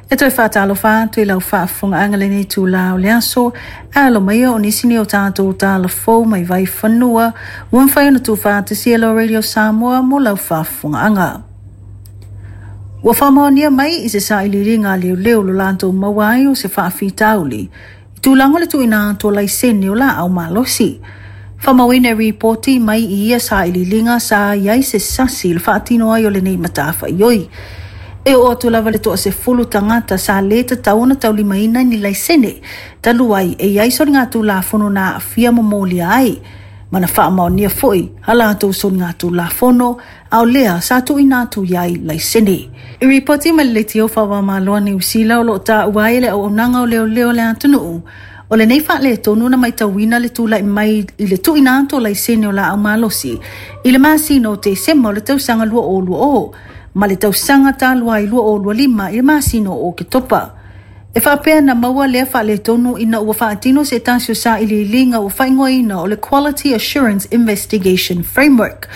E toe faatalofa atu i lau faafofogaaga lenei itulā o le aso, e alo mai o nisi nei o tatou tala fou mai vaifanua ua mafai ona tuufaatasia e lo Radio Samoa mo lau faafofogaaga. Ua faamaonia mai i se sailiiliga a leoleo lo latou maua ai o se faafitauli i tulaga o le tuuina atu o laisene o laau malosi. Faamauina e ripoti mai i ia sailiiliga sa i ai se sasi i le faatino ai o lenei matafaioi. E oo atu lava le 10 tagata sa lē tatau ona taulimaina ni laisene talu ai e i ai soligatulafono na aafia ma molia ai ma na faamaonia foi a latou soligatulafono a o lea sa tuuina atu i ai laisene. I ripoti mai le leitio faava-o-Malo a Niu Sila o loo taua ai e le auaunaga o leoleo o le atunuu o lenei faaletonu na matauina le tulai mai i le tuuina atu o laisene o laau malosi i le masina o Tesema o le tausaga 2020 ma le tausaga talu ai 2025 i le masina o Oketopa. E faapea na maua lea faaletonu ina ua faatino se tasi o sailiiliga ua faaigoaina o le Quality Assurance Investigation Framework.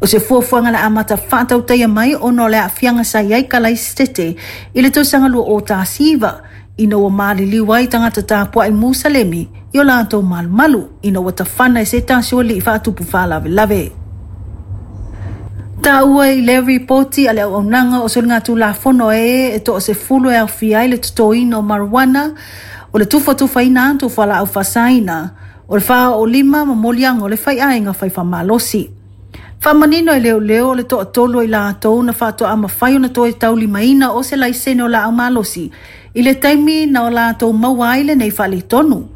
O se fuafuaga na amata faatautaia mai ona o le aafiaga sa i ai Kalaisitete i le tausaga 2019 ina ua maliliu ai tagata tapuai Musalemi i o latou malumalu ina ua tafana e se tasi o alii faatupu faalavelave. Taua i lea ripoti a le auaunaga o soligatulafono e 10 e aofia ai le totoina o marijuana, o le tufatufaina atu o fualaau faasaina, o le faaoolima ma moliaga o le faiaiga faifamalosi. Faamanino e leoleo o le 3 o i latou na faatoa mafai ona toe taulimaina o se laisene o laau malosi i le taimi na o latou maua ai lenei faaletonu.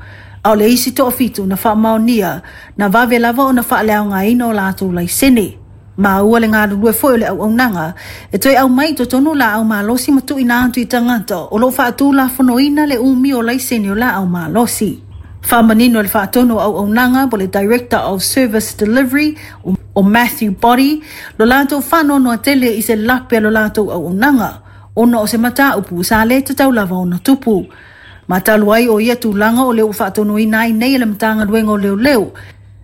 A o le isi 7 na faamaonia na vave lava ona faaleaogaina o latou laisene. Maua le galulue foi o le auaunaga e toe aumai i totonu laau malosi ma tuuina atu i tagata o loo faatulafonoina le umi o laisene o laau malosi. Faamanino le faatonu o auaunaga po le Director of Service Delivery o Matthew Body lo latou faanoanoa tele i se lape a lo latou auaunaga ona o se mataupu sa lē tatau lava ona tupu. Ma talu ai o ia tulaga o lea ua faatonuina ai nei e le Matagaluega o Leoleo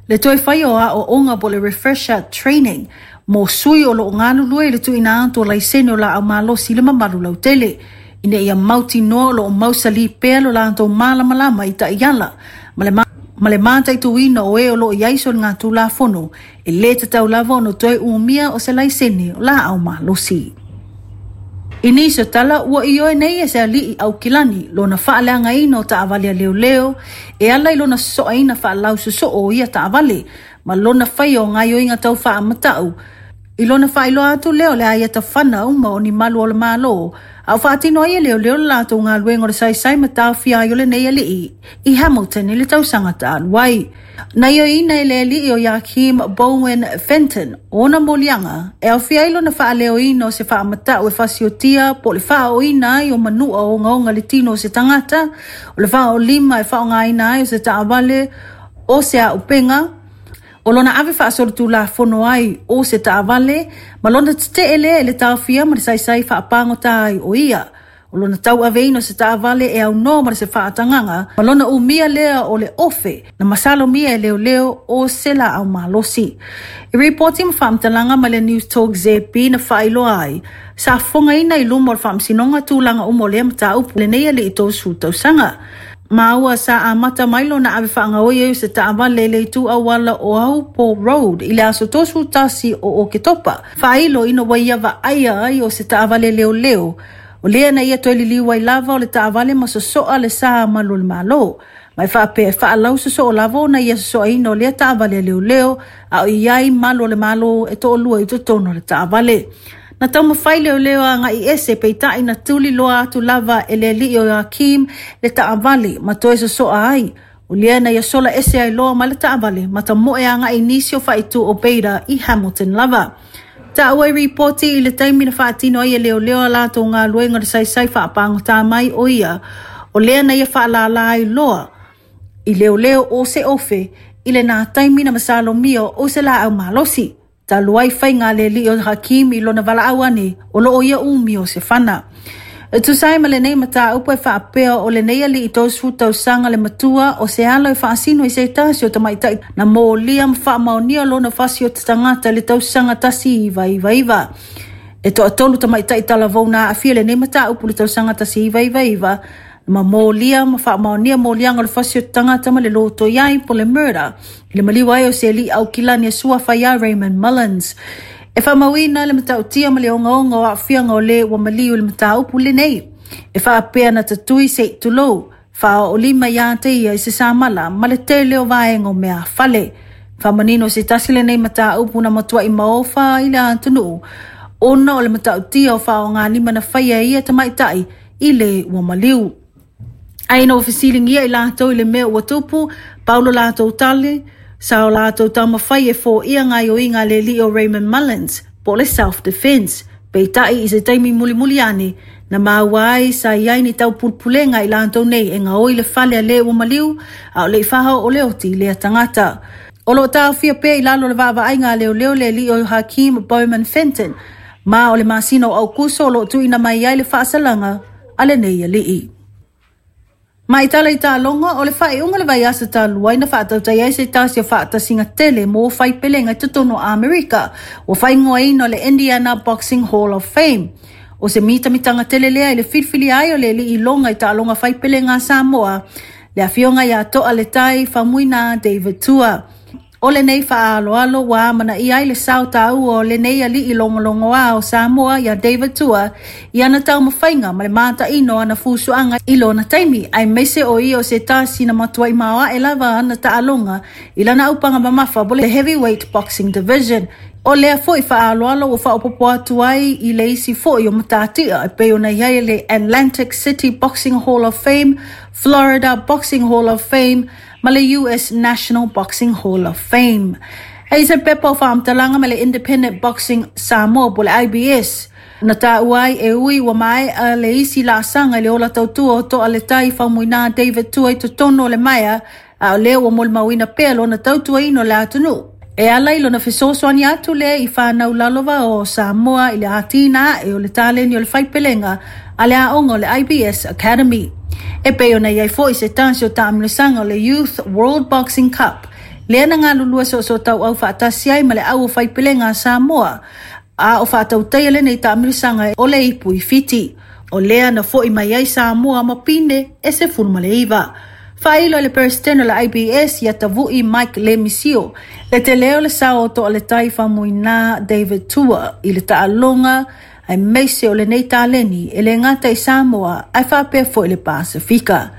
le toe fai o aoaoga po le refresher training mo sui o loo galulue i le tuuina atu o laisene o laau malosi i le mamalu lautele ina ia mautinoa o loo mausali pea lo latou malamalama i taiala ma le mataituina o e o loo i ai soligatulafono e lē tatau lava ona toe umia o se laisene o laau malosi. I nisi o tala ua ioe nei e se alii Aukilani lona faaleagaina o taavale a leoleo e ala i lona sosoaina faalausoosoo o ia taavale ma lona faia o gaoioiga tau faamatau i lona faailoa atu lea o le aia tafana uma o ni malu o le Malo a o faatino ai e leoleo le latou galuega o le saisai ma taofia ai o lenei alii i Hamilton i le tausaga talu ai. Na ioeina e le alii o Joachim Bowen Fenton ona moliaga e aofia ai lona faaleoina o se faamatau e fasiotia po o le faaooina ai o manua ogaoga le tino o se tagata, o le faaoolima e faaaogaina ai o se taavale o se auupega, o lona ave faasolitulafono ai o se taavale ma lona tetee lea i le taofia ma le saisai faapagota ai o ia. O lona tauaveina o se taavale e aunoa ma se faatagaga ma lona umia lea o le ofe na masalomia e leoleo o se laau malosi. I ripoti ma faamatalaga mai le News Talk ZB na faailoa ai, sa fofogaina i luma o le faamasinoga tulaga uma o lea mataupu lenei alii 30 tausaga. Maua sa amata mai lona ave faagaoi ai o se taavale i le itu auala o Ahupo Road i le aso 31 o Oketopa. Faailo ina ua ia vaaia ai o se taavale leoleo o lea na ia toe liliu ai lava o le taavale ma sosoa le sa malu o le Malo. Ma e faapea e faalausoosoo lava ona ia sosoaina o lea taavale a leoleo a o i ai malu o le Malo e 2 i totonu o le taavale. Na taumafai leoleo agai ese peitai na tuli loa atu lava e le alii o Joachim le taavale ma toe sosoa ai. O lea na ia sola ese ai loa mai le taavale ma tamoe agai i nisi o faaitu o Beta i Hamilton lava. Taua i ripoti i le taimi na faatino ai e leoleo a latou galuega o le saisai faapagota mai o ia o lea na ia faalala ai loa i leoleo o se ofe i lena taimi na masalomia o se laau malosi. Talu ai faiga a le alii o Hakim i lona valaau ane o loo ia umi o se fana. E tusa ai ma lenei mataupu e faapea o lenei alii 30 tausaga le matua o se alo e faasino i se tasi o tamaitai na molia ma faamaonia lona fasi o te tagata i le tausaga 1999. E toatolu tamaitai talavou na aafia i lenei mataupu i le tausaga 1999 ma molia ma faamaonia moliaga o le fasi o tagata ma le lotoiai po o le murder i le maliu ai o se alii Aukilani e suafa ia Raymond Mullins. E faamauina le matautia ma le ogaoga o aafiaga o le ua maliu i le mataupu lenei. E faapea na tatui se i tulou, faaoolima ia te ia i se samala ma le tele o vaega o meaafale. Faamanino se tasi lenei mataupu na matuai maofa ai le atunuu ona o le matautia o faaaogalima na faia e ia tamaitai i le ua maliu. Ae ina ua fesiligia i latou i le mea ua tupu, pau lo latou tali, sa o latou taumafai e foia gaoioiga a le alii o Raymond Mullins, po o le self defence. Peitai i se taimi mulimuli ane, na maua ai sa i ai ni taupulepulega a i latou nei e gaoi le fale a le ua maliu, a o le i faaoo le oti i lea tagata. O lo o taofia pea i lalo o le vaavaaiga a leoleo le alii o Hakeem Bowman Fenton, ma o le masina o Aukuso o lo o tuuina mai ai le faasalaga a lenei alii. Ma i tala i taaloga, o le faaiuga o le vaiaso talu ai na faatautai ai se tasi o faatasiga tele mo faipelega i totonu o Amerika, ua faaigoaina o le Indiana Boxing Hall of Fame. O se mitamitaga tele lea i le filifilia ai o le alii iloga i taaloga faipelega a Samoa, le afioga ia Toaletai Faumuina David Tua. O lenei faaaloalo ua amanaia ai le sao taua o lenei alii logologoa o Samoa ia David Tua i ana taumafaiga ma le mataino o ana fusuaga i lona taimi, aemaise o ia o se tasi na matuai maoae lava ana taaloga i lana aupaga mamafa po le Heavyweight Boxing Division. O lea foi faaaloalo ua faaopoopo atu ai i le isi foi o matatia e pei ona i ai le Atlantic City Boxing Hall of Fame, Florida Boxing Hall of Fame, ma le US National Boxing Hall of Fame. E i se pepa o faamatalaga ma le Independent Boxing Samoa po le IBS, na taua ai e ui ua maea le isi laasaga i le ola tautua o Toaletai Faumuina David Tua i totonu o le maea, a o lea ua molimauina pea lona tautuaina o le atunuu. E ala i lona fesoasoani atu lea i fanau lalova o Samoa i le atinae o le taleni o le faipelega a le aoga o le IBS Academy. E pei ona i ai foi se tasi o taamilosaga o le Youth World Boxing Cup, lea na galulue soosootaua faatasi ai ma le au o faipelega a Samoa, a o faatautaia lenei taamilosaga o le ipu i Fiti. O lea na foi mai ai Samoa ma pine e 19. Faailo e le Peresetene o le IBS ia Tavu'i Mike Lemisio le tele o le sao o Toaletai Faumuina David Tua i le taaloga aemaise o lenei taleni e le gata i Samoa ae faapea foi le Pasefika.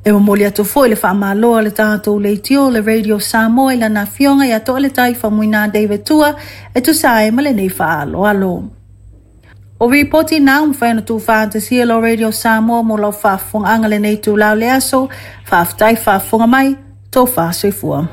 E momoli atu foi le faamalo a le tatou leitio le Radio Samoa i lana afioga ia Toaletai Faumuina David Tua e tusa ai ma lenei faaaloalo. O ripoti na ua mafai ona tuufaatasia e lo Radio Samoa mo lau faafofogaaga lenei itula o le aso. Faafetai faafofoga mai, tofa soifua.